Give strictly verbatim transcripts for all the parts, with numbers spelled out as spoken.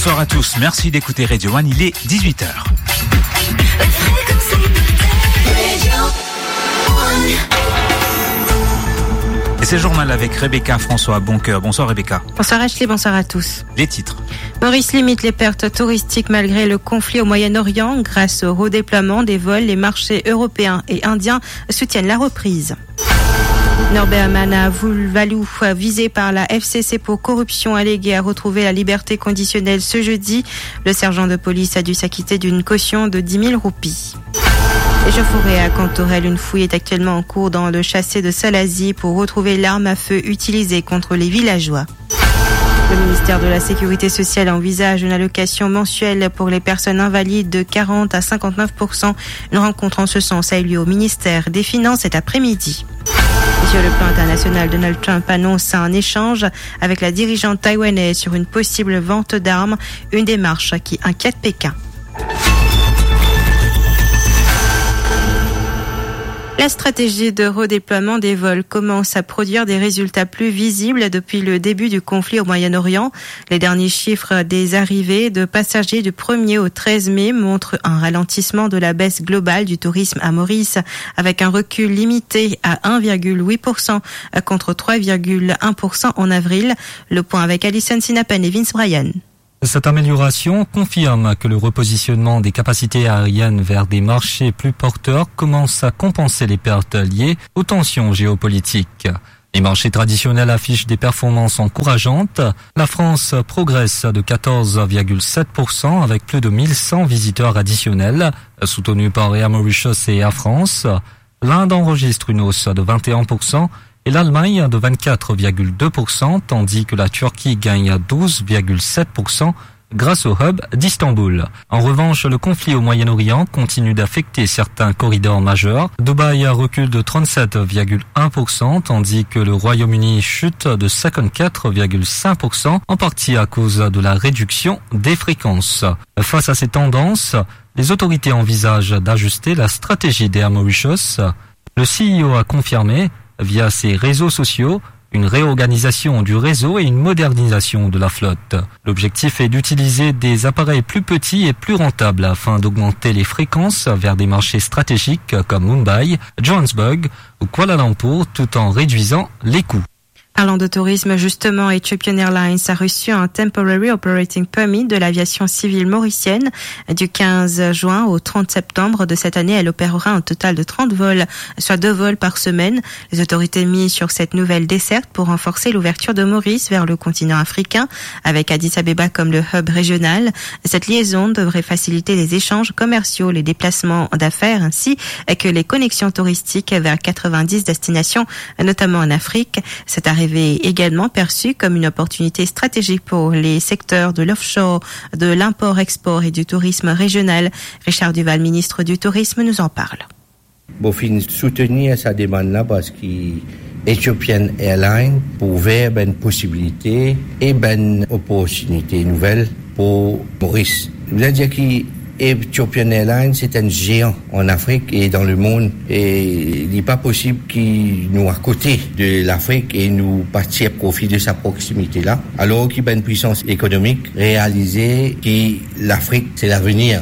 Bonsoir à tous, merci d'écouter Radio One, il est dix-huit heures. Et c'est le journal avec Rebecca François Boncoeur. Bonsoir Rebecca. Bonsoir Ashley, bonsoir à tous. Les titres. Maurice limite les pertes touristiques malgré le conflit au Moyen-Orient. Grâce au redéploiement des vols, les marchés européens et indiens soutiennent la reprise. Norbert Manavaloulou, visé par la F C C pour corruption alléguée, a retrouvé la liberté conditionnelle ce jeudi. Le sergent de police a dû s'acquitter d'une caution de dix mille roupies. Échauffourée à Cantorel, une fouille est actuellement en cours dans le châssis de Salazie pour retrouver l'arme à feu utilisée contre les villageois. Le ministère de la Sécurité sociale envisage une allocation mensuelle pour les personnes invalides de quarante à cinquante-neuf pour cent. Une rencontre en ce sens a eu lieu au ministère des Finances cet après-midi. Sur le plan international, Donald Trump annonce un échange avec la dirigeante taïwanaise sur une possible vente d'armes, une démarche qui inquiète Pékin. La stratégie de redéploiement des vols commence à produire des résultats plus visibles depuis le début du conflit au Moyen-Orient. Les derniers chiffres des arrivées de passagers du premier au treize mai montrent un ralentissement de la baisse globale du tourisme à Maurice, avec un recul limité à un virgule huit pour cent contre trois virgule un pour cent en avril. Le point avec Alison Sinapen et Vince Bryan. Cette amélioration confirme que le repositionnement des capacités aériennes vers des marchés plus porteurs commence à compenser les pertes liées aux tensions géopolitiques. Les marchés traditionnels affichent des performances encourageantes. La France progresse de quatorze virgule sept pour cent avec plus de mille cent visiteurs additionnels, soutenus par Air Mauritius et Air France. L'Inde enregistre une hausse de vingt et un pour cent et l'Allemagne de vingt-quatre virgule deux pour cent, tandis que la Turquie gagne douze virgule sept pour cent grâce au hub d'Istanbul. En revanche, le conflit au Moyen-Orient continue d'affecter certains corridors majeurs. Dubaï recule de trente-sept virgule un pour cent, tandis que le Royaume-Uni chute de cinquante-quatre virgule cinq pour cent, en partie à cause de la réduction des fréquences. Face à ces tendances, les autorités envisagent d'ajuster la stratégie d'Air Mauritius. Le C E O a confirmé, via ses réseaux sociaux, une réorganisation du réseau et une modernisation de la flotte. L'objectif est d'utiliser des appareils plus petits et plus rentables afin d'augmenter les fréquences vers des marchés stratégiques comme Mumbai, Johannesburg ou Kuala Lumpur, tout en réduisant les coûts. Parlant de tourisme, justement, Ethiopian Airlines a reçu un Temporary Operating Permit de l'aviation civile mauricienne. Du quinze juin au trente septembre de cette année, elle opérera un total de trente vols, soit deux vols par semaine. Les autorités misent sur cette nouvelle desserte pour renforcer l'ouverture de Maurice vers le continent africain, avec Addis Abeba comme le hub régional. Cette liaison devrait faciliter les échanges commerciaux, les déplacements d'affaires ainsi que les connexions touristiques vers quatre-vingt-dix destinations, notamment en Afrique. Cette arrivée est également perçue comme une opportunité stratégique pour les secteurs de l'offshore, de l'import-export et du tourisme régional. Richard Duval, ministre du Tourisme, nous en parle. Mo finn soutenir sa demann la parski Ethiopian Airlines pou ouver bann posibilite e bann oportinite nouvel pou Moris. Mo dir ki Ethiopian Airlines se enn zean an Afrik e dan lemond, e li pa posib ki nou akote de Lafrik e nou pa tir profi de sa proksimite la, alor ki bann pwisans ekonomik realize ki Lafrik se lavenir.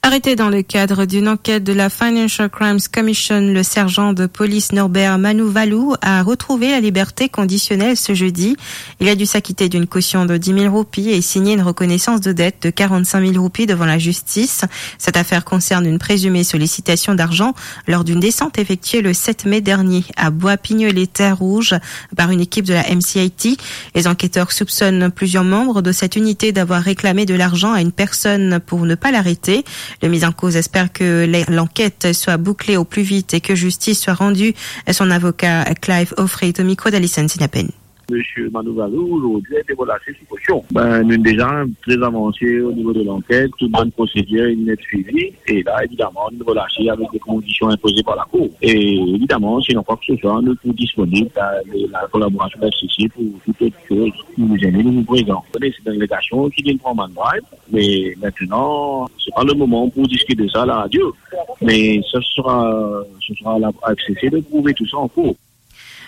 Arrêté dans le cadre d'une enquête de la Financial Crimes Commission, le sergent de police Norbert Manuvalo a retrouvé la liberté conditionnelle ce jeudi. Il a dû s'acquitter d'une caution de dix mille roupies et signer une reconnaissance de dette de quarante-cinq mille roupies devant la justice. Cette affaire concerne une présumée sollicitation d'argent lors d'une descente effectuée le sept mai dernier à Bois-Pignolet, Terre Rouge, par une équipe de la M C I T. Les enquêteurs soupçonnent plusieurs membres de cette unité d'avoir réclamé de l'argent à une personne pour ne pas l'arrêter. Le mis en cause espère que les- l'enquête soit bouclée au plus vite et que justice soit rendue. Son avocat Clive Offray est au micro d'Alison Sinapen. Monsieur Manuvalo, aujourd'hui, a été relâché sous caution. Ben, nou deza tre avanse o nivo de lanket, tout bann prosedir inn et swivi, e la, evidaman, nou relase avek de kondision inpoze par lakour. E evidaman, si nou krwar ki se swa, nou pou disponib, la, la kolaborasion de la S C C pou tout ot soz. Nou, nou prezan. Ou kone, se dan legasion ki vinn pran bann bribe, me mintenan, se pa le moman pou diskit de sa a la radio, me sa sera, ce sera à la S C C de prouve tou sa an kour.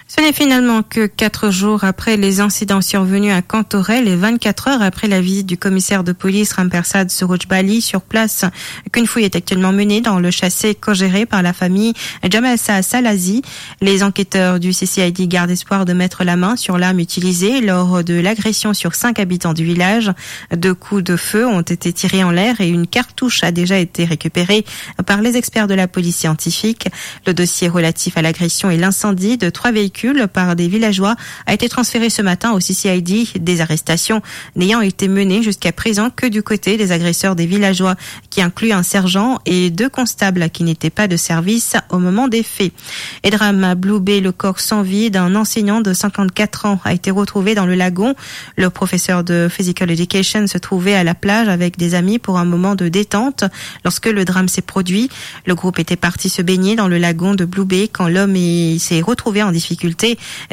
Ce n'est finalement que quatre jours après les incidents survenus à Kantorel et vingt-quatre heures après la visite du commissaire de police Rampersad Surojbali sur place qu'une fouille est actuellement menée dans le châssis co-géré par la famille Jamal Sa Salazi. Les enquêteurs du C C I D gardent espoir de mettre la main sur l'arme utilisée lors de l'agression sur cinq habitants du village. Deux coups de feu ont été tirés en l'air et une cartouche a déjà été récupérée par les experts de la police scientifique. Le dossier relatif à l'agression et l'incendie de trois véhicules par des villageois a été transféré ce matin au C C I D, des arrestations n'ayant été menées jusqu'à présent que du côté des agresseurs des villageois, qui inclut un sergent et deux constables qui n'étaient pas de service au moment des faits. Et drame à Blue Bay, le corps sans vie d'un enseignant de cinquante-quatre ans a été retrouvé dans le lagon. Le professeur de Physical Education se trouvait à la plage avec des amis pour un moment de détente lorsque le drame s'est produit. Le groupe était parti se baigner dans le lagon de Blue Bay quand l'homme est- s'est retrouvé en difficulté.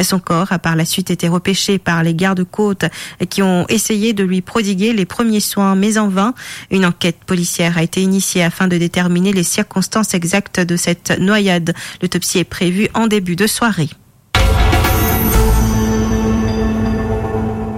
Son corps a par la suite été repêché par les gardes-côtes qui ont essayé de lui prodiguer les premiers soins, mais en vain. Une enquête policière a été initiée afin de déterminer les circonstances exactes de cette noyade. L'autopsie est prévue en début de soirée.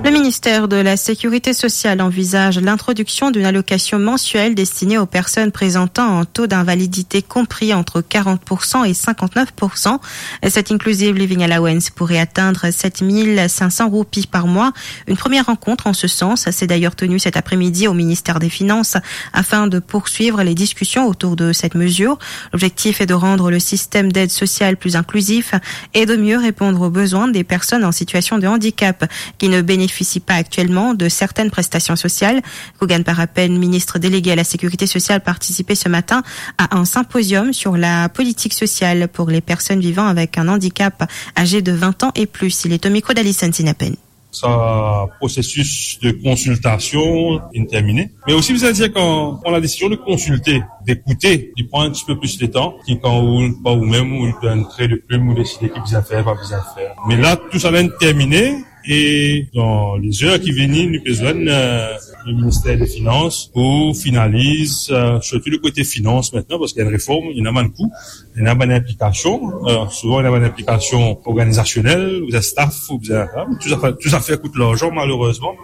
Le ministère de la Sécurité sociale envisage l'introduction d'une allocation mensuelle destinée aux personnes présentant un taux d'invalidité compris entre quarante pour cent et cinquante-neuf pour cent. Cette Inclusive Living Allowance pourrait atteindre sept mille cinq cents roupies par mois. Une première rencontre en ce sens s'est d'ailleurs tenue cet après-midi au ministère des Finances afin de poursuivre les discussions autour de cette mesure. L'objectif est de rendre le système d'aide sociale plus inclusif et de mieux répondre aux besoins des personnes en situation de handicap qui ne bénéficient pas actuellement de certaines prestations sociales. Kougan Parapen, ministre délégué à la Sécurité sociale, participait ce matin à un symposium sur la politique sociale pour les personnes vivant avec un handicap âgées de vingt ans et plus. Il est au micro d'Alison Sinapen. Sa prosesis de konsiltasion inn termine. Me osi, bizin dir, kan pran ladesizion de konsilte, dekoute, li pran enn tipe plis letan ki kan ou, pa oumem, ou donn tre de plim, ou deside ki bizin fer, pa bizin fer. Me la, tou sa la inn termine, e dan lezer ki vini, nou pe zwenn, euh, le minister de Finans pou finaliz, euh, sirtou le kote finans aster, parski ena reform, ena bann kou, ena bann inplikasion, euh, souvan ena bann inplikasion organizasionel, ou bizin staff, ou bizin, hein, tou zafer, tou zafer kout larzan, malerezman.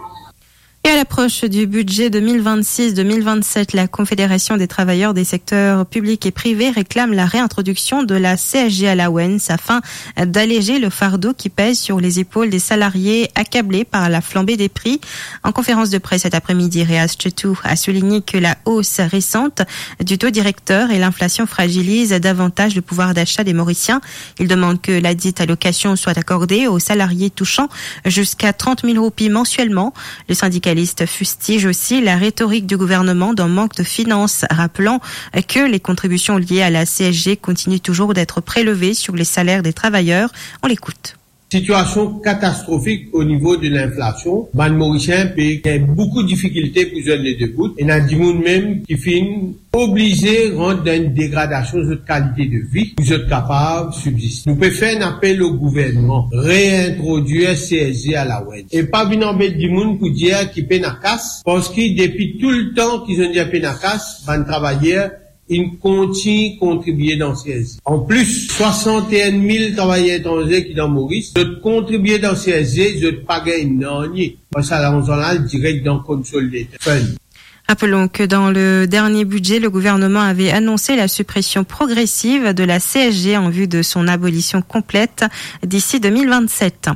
Et à l'approche du budget deux mille vingt-six deux mille vingt-sept, la Confédération des travailleurs des secteurs publics et privés réclame la réintroduction de la C S G allowance afin d'alléger le fardeau qui pèse sur les épaules des salariés accablés par la flambée des prix. En conférence de presse cet après-midi, Reaz Chetou a souligné que la hausse récente du taux directeur et l'inflation fragilise davantage le pouvoir d'achat des Mauriciens. Il demande que la dite allocation soit accordée aux salariés touchant jusqu'à trente mille roupies mensuellement. Le syndicaliste fustige aussi la rhétorique du gouvernement d'un manque de finances, rappelant que les contributions liées à la C S G continuent toujours d'être prélevées sur les salaires des travailleurs. On l'écoute. Sitiasion katastrofik o nivo de linflasion, bann Morisien pe gagn boukou difikilte pou zwenn le de bout. Ena dimoun mem ki finn oblize rant dan enn degradasion zot kalite de vi pou zot kapav sibziste. Nou pe fer enn apel o gouvernman, reintrodwir C S G allowance. E pa vinn anbet dimoun pou dir ki pena kas, parski depi tou letan ki zot dir pena kas, bann travayer inn kontign kontribie dan C S G. Anplis, swasant-e-enn mil travayer etranze ki dan Moris, zot kontribie dan C S G, zot pa gagn nanye. Parski sa larzan la al direk dan Consolidated Fund. Rappelons que dans le dernier budget, le gouvernement avait annoncé la suppression progressive de la C S G en vue de son abolition complète d'ici deux mille vingt-sept.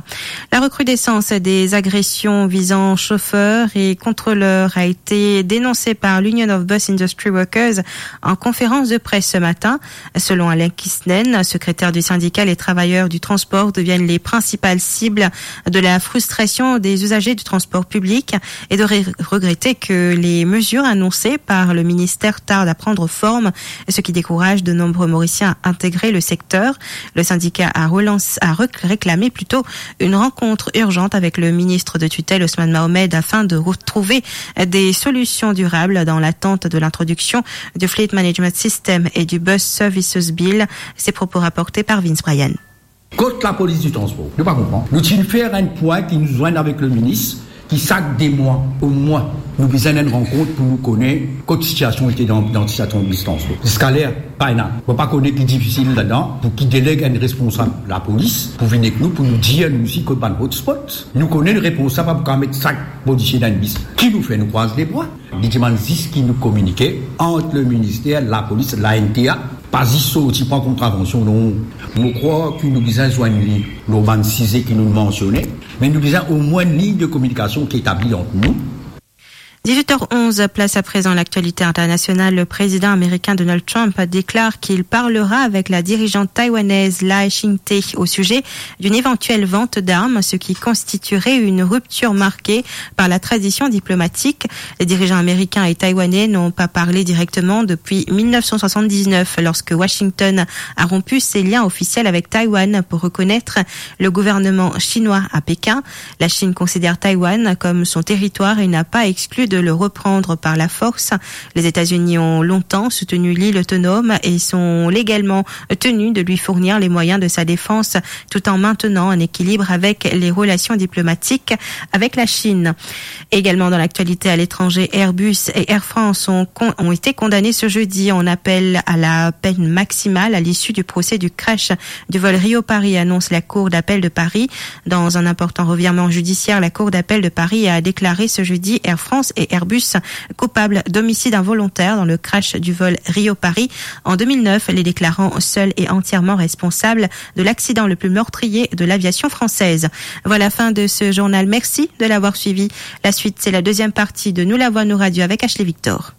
La recrudescence des agressions visant chauffeurs et contrôleurs a été dénoncée par l'Union of Bus Industry Workers en conférence de presse ce matin. Selon Alain Kisnen, secrétaire du syndicat, les travailleurs du transport deviennent les principales cibles de la frustration des usagers du transport public et de ré-, regretter que les mesures annoncées par le ministère tardent à prendre forme, ce qui décourage de nombreux Mauriciens à intégrer le secteur. Le syndicat a relance-, a rec-, réclamé plutôt une rencontre urgente avec le ministre de tutelle Ousmane Mohamed afin de retrouver des solutions durables dans l'attente de l'introduction du Fleet Management System et du Bus Services Bill. Ces propos rapportés par Vince Bryan. Kot lapolis di transpor? Nou pa konpran. Nou ti fer enn pwin ki nou zwenn avek le minis, Ki sak de mwa, omwin, nou bizin enn rankont pou nou kone kot sitiasion ete dan, dan sitiasion distans. Ziska ler, pa ena. Mo pa kone ki difisil ladan, pou ki deleg enn responsab lapolis pou vinn ek nou, pou nou dir nou osi kot bann hotspot. Nou kone repons la, pa pou kapav met sak polisie dan enn bis. Ki nou fer, nou kraz lebra. Li dimann zis ki nou kominike ant le minister, lapolis, la N T A, pa zis sorti pran kontravansion, non. Mo krwar ki nou bizin zwenn li lor bann size ki nou mansione, me nou bizin omwin enn lign de kominikasion ki etabli ant nou. Dix-huit heures onze, place à présent à l'actualité internationale. Le président américain Donald Trump déclare qu'il parlera avec la dirigeante taïwanaise Lai Ching-te au sujet d'une éventuelle vente d'armes, ce qui constituerait une rupture marquée par la tradition diplomatique. Les dirigeants américains et taïwanais n'ont pas parlé directement depuis mille neuf cent soixante-dix-neuf, lorsque Washington a rompu ses liens officiels avec Taïwan pour reconnaître le gouvernement chinois à Pékin. La Chine considère Taïwan comme son territoire et n'a pas exclu de le reprendre par la force. Les États-Unis ont longtemps soutenu l'île autonome et sont légalement tenus de lui fournir les moyens de sa défense, tout en maintenant un équilibre avec les relations diplomatiques avec la Chine. Également dans l'actualité à l'étranger, Airbus et Air France ont con-, ont été condamnés ce jeudi en appel à la peine maximale à l'issue du procès du crash du vol Rio-Paris, annonce la Cour d'appel de Paris. Dans un important revirement judiciaire, la Cour d'appel de Paris a déclaré ce jeudi Air France et Airbus coupables d'homicide involontaire dans le crash du vol Rio-Paris en deux mille neuf, les déclarant seuls et entièrement responsables de l'accident le plus meurtrier de l'aviation française. Voilà, fin de ce journal. Merci de l'avoir suivi. La suite, c'est la deuxième partie de Nous la voix, nous radio avec Ashley Victor.